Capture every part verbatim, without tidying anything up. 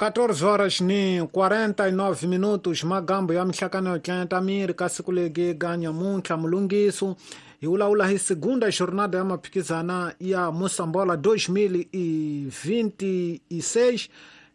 catorze horas ni quarenta e nove minutos. Magambo ya mihlakano yo tlenta miri ka siku legi ga nyamuntlha mulungiso hi vulavula hi segunda jornada ya maphikizana ya Mosambola dois mil e vinte e seis.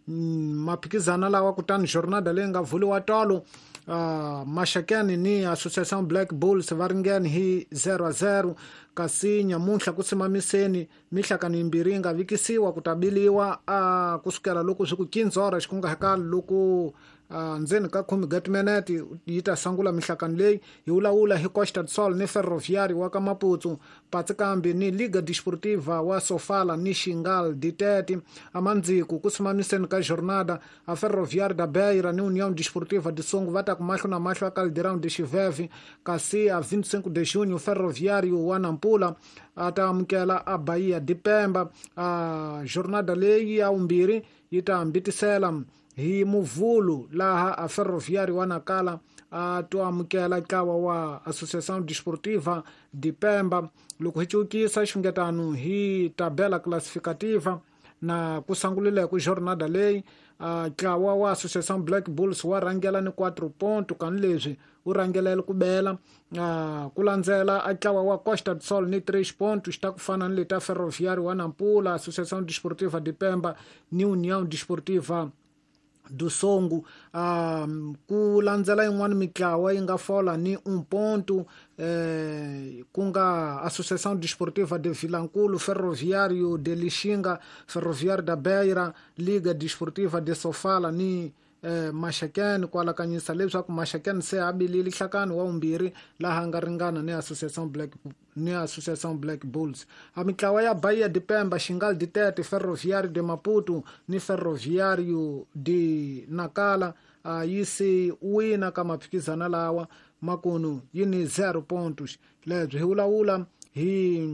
Maphikizana lawa kutani jornada leyi nga vuliwa tolo, uh, Maxakeni ni Associação Black Bulls va ringene hi zero a zero, kasi nyamuntlha ku simamiseni mihlakano yimbirhi yi nga vikisiwa ku ta biliwa uh, kusukela loko swi ku quinze horas ku nga hakali loko uh, ndzeni ka khume ga timinete yi ta sungula mihlakano leyi. Hi vulavula hi Costa do Sol ni Ferroviário wa ka Maputo, Patsikambi ni Liga Desportiva wa Sofala ni Xingal de Tete. Amandziko ku simamiseni ka jornada, a Ferroviário da Beira ni União Desportiva de Songo va ta ku mahlo na mahlo a Caldeirão de Chiveve, kasi a vinte e cinco de junho Ferroviário wa Nampula a ta amukela a Bahia de Pemba. A jornada leyi ya vumbirhi yi ta hambitisela hi Muvhulu, laha a Ferroviário wa Nakala a to amukela ntlawa wa Associação Desportiva de Pemba. Loko hi cukisa xungetano hi tabela classificativa na ku sangulile ku jornada leyi, ntlawa wa Associação Black Bulls wa rhangela ni quatro ponto, kani leswi wu rhangelele ku bela ku landzela a ntlawa wa Costa do Sol ni três pontos, ta ku fana ni leta Ferroviário wa Nampula, Associação Desportiva de Pemba ni União Desportiva do Songo. um, ku landzela yin'wana mitlawa yi nga fola ni um ponto, eh, ku nga Associação Desportiva de Vilankulo, Ferroviário de Lixinga, Ferroviário da Beira, Liga Desportiva de Sofala ni eh, Maxakeni. Ku alakanyisa leswaku Maxakeni se a bilile nhlakano wa vumbirhi, laha nga ringana ni Associação Black ni Associação Black Bulls. A mitlawa ya Bahia de Pemba, Xingal de Tete, Ferroviário de Maputo ni Ferroviário de Nakala a yi se wina ka maphikizana lawa, makunu yi ni zero pontos. Lebyi hi vulavula hi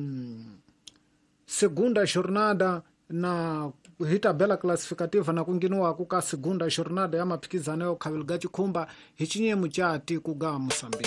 segunda jornada na hi tabela classificativa na ku ngheniwaku ka segunda jornada ya maphikizano yo khaveliga chikhumba hi chinyemu cha tiko ga Moçambique.